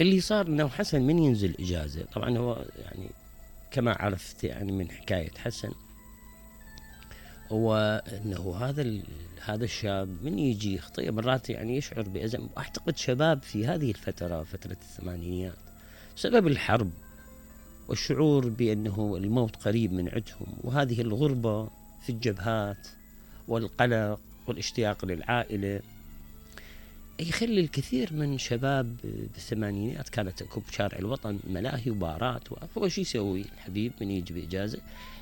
اللي صار انه حسن من ينزل اجازه، طبعا هو يعني كما عرفت يعني من حكايه حسن، هو انه هذا الشاب من يجي يخطئ مرات يعني يشعر بأزم. واعتقد شباب في هذه الفتره، فتره الثمانينيات، بسبب الحرب والشعور بانه الموت قريب من عندهم، وهذه الغربه في الجبهات والقلق والاشتياق للعائله، يخلي الكثير من شباب بالثمانينات كانت اكو بشارع الوطن ملاهي وبارات، هو شو يسوي الحبيب من يجي باجازه؟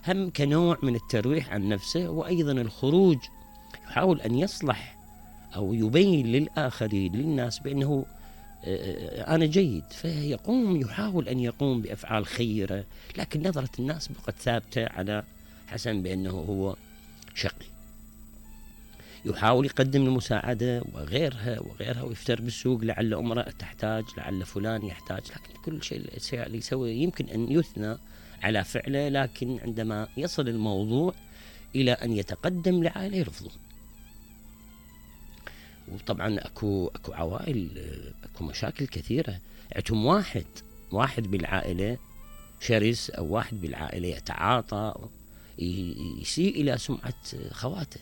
هم كنوع من الترويح عن نفسه، وايضا الخروج يحاول ان يصلح او يبين للاخرين للناس بانه انا جيد، يحاول ان يقوم بافعال خيره، لكن نظره الناس بقت ثابته على حسن بانه هو شقي. يحاول يقدم المساعدة وغيرها ويفتر بالسوق، لعل امرأة تحتاج، لعل فلان يحتاج، لكن كل شيء اللي يسوي يمكن أن يثنى على فعله، لكن عندما يصل الموضوع إلى أن يتقدم لعائلة يرفضون. وطبعا أكو عوائل، أكو مشاكل كثيرة، عندهم واحد بالعائلة شرس، أو واحد بالعائلة يتعاطى، يسيء إلى سمعة خواته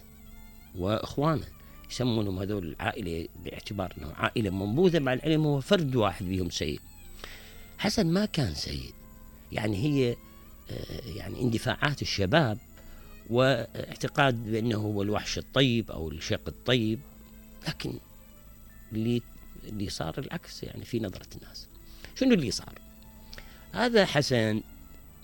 واخوانه، يسمونهم هذول العائله باعتبار انه عائله منبوذه، مع العلم هو فرد واحد بهم سيء. حسن ما كان سيء، يعني هي يعني اندفاعات الشباب واعتقاد بانه هو الوحش الطيب او الشق الطيب، لكن اللي صار العكس يعني في نظره الناس. شنو اللي صار؟ هذا حسن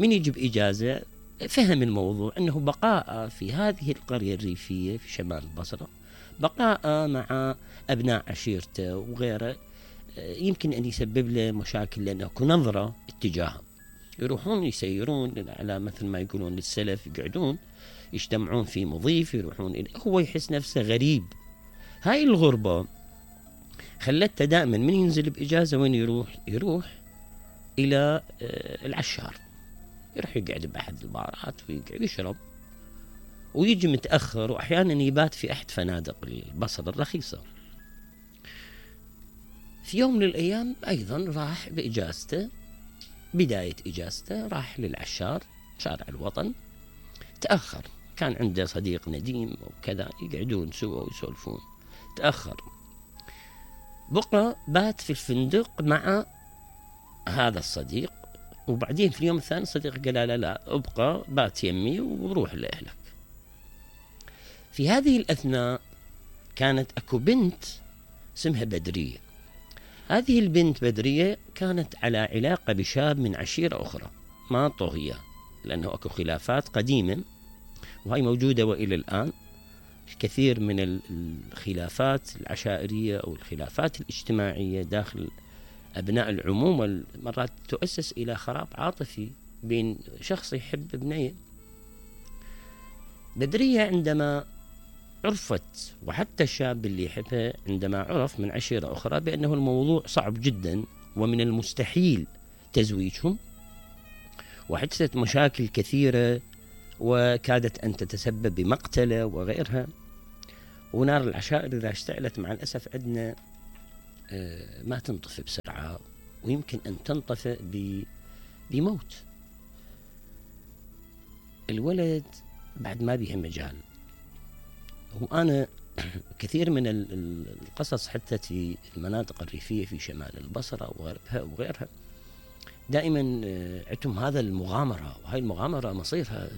من يجي باجازه فهم الموضوع أنه بقاء في هذه القرية الريفية في شمال البصرة، بقاء مع أبناء عشيرته وغيره، يمكن أن يسبب له مشاكل، لأنه نظرة اتجاههم، يروحون يسيرون على مثل ما يقولون للسلف، يقعدون يجتمعون في مضيف، يروحون هو يحس نفسه غريب. هاي الغربة خلته دائما من ينزل بإجازة وين يروح إلى العشار، يروح يقعد بأحد البارات ويقعد يشرب، ويجي متأخر، وأحيانا يبات في أحد فنادق البصرة الرخيصة. في يوم من الأيام أيضا راح بإجازته، بداية إجازته راح للعشار شارع الوطن، تأخر، كان عنده صديق نديم وكذا، يقعدون سوا ويسولفون، تأخر، بقى بات في الفندق مع هذا الصديق، وبعدين في اليوم الثاني الصديق قال لا ابقى بات يمي وروح لأهلك. في هذه الأثناء كانت أكو بنت اسمها بدرية. هذه البنت بدرية كانت على علاقة بشاب من عشيرة أخرى ما طهية، لأنه أكو خلافات قديمة وهي موجودة وإلى الآن. الكثير من الخلافات العشائرية أو الخلافات الاجتماعية داخل أبناء العمومة مرات تؤسس إلى خراب عاطفي بين شخص يحب ابنيه. بدرية عندما عرفت، وحتى الشاب اللي يحبها عندما عرف من عشيرة أخرى بأنه الموضوع صعب جدا ومن المستحيل تزويجهم، وحدثت مشاكل كثيرة وكادت أن تتسبب بمقتله وغيرها، ونار العشائر إذا اشتعلت مع الأسف عندنا ما تنطفئ بسرعة، ويمكن أن تنطفئ بموت. الولد بعد ما بيه مجال. وأنا كثير من القصص حتى في المناطق الريفية في شمال البصرة وغيرها دائما عندهم هذا المغامرة، وهي المغامرة مصيرها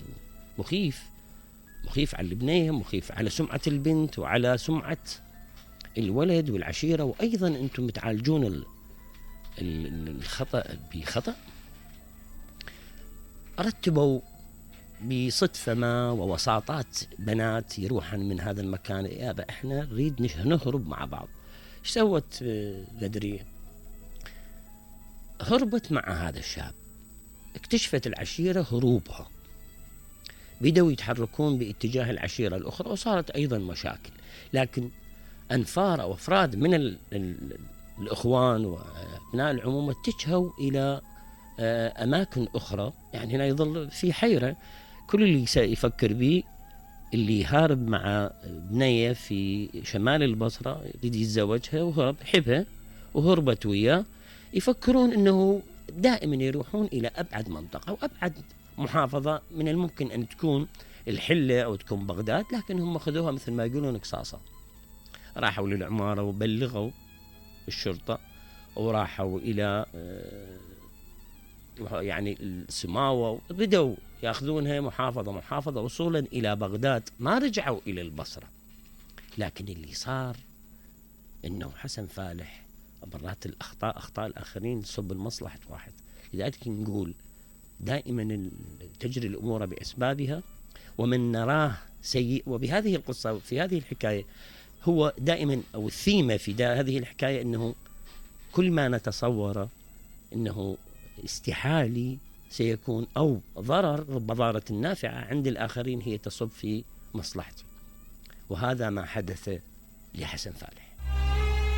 مخيف على البنية، مخيف على سمعة البنت وعلى سمعة الولد والعشيرة، وأيضا أنتم متعالجون الخطأ بخطأ. رتبوا بصدفة ما ووساطات بنات يروحن من هذا المكان، يابا احنا نريد نهرب مع بعض. ايش سوت بدرية؟ هربت مع هذا الشاب. اكتشفت العشيرة هروبها، بدأوا يتحركون باتجاه العشيرة الأخرى، وصارت أيضا مشاكل، لكن أنفار أو أفراد من الإخوان وأبناء العمومة اتجهوا إلى أماكن أخرى. يعني هنا يظل في حيرة، كل اللي يفكر به اللي هارب مع بنية في شمال البصرة يريد يتزوجها، وهرب حبها وهربت وياه، يفكرون أنه دائما يروحون إلى أبعد منطقة وأبعد محافظة من الممكن أن تكون الحلة أو تكون بغداد، لكن هم خذوها مثل ما يقولون قصاصة. راحوا للعمارة وبلغوا الشرطة، وراحوا إلى يعني السماوة، وبدأوا يأخذونها محافظة محافظة وصولا إلى بغداد. ما رجعوا إلى البصرة، لكن اللي صار إنه حسن فالح مرات أخطاء الآخرين تصب لمصلحة واحد. لذلك نقول دائما تجري الأمور بأسبابها، ومن نراه سيء. وبهذه القصة وفي هذه الحكاية هو دائما أو الثيمة في هذه الحكاية أنه كل ما نتصور أنه استحالي سيكون أو ضرر، رب ضارة نافعة عند الآخرين هي تصب في مصلحته. وهذا ما حدث لحسن فالح.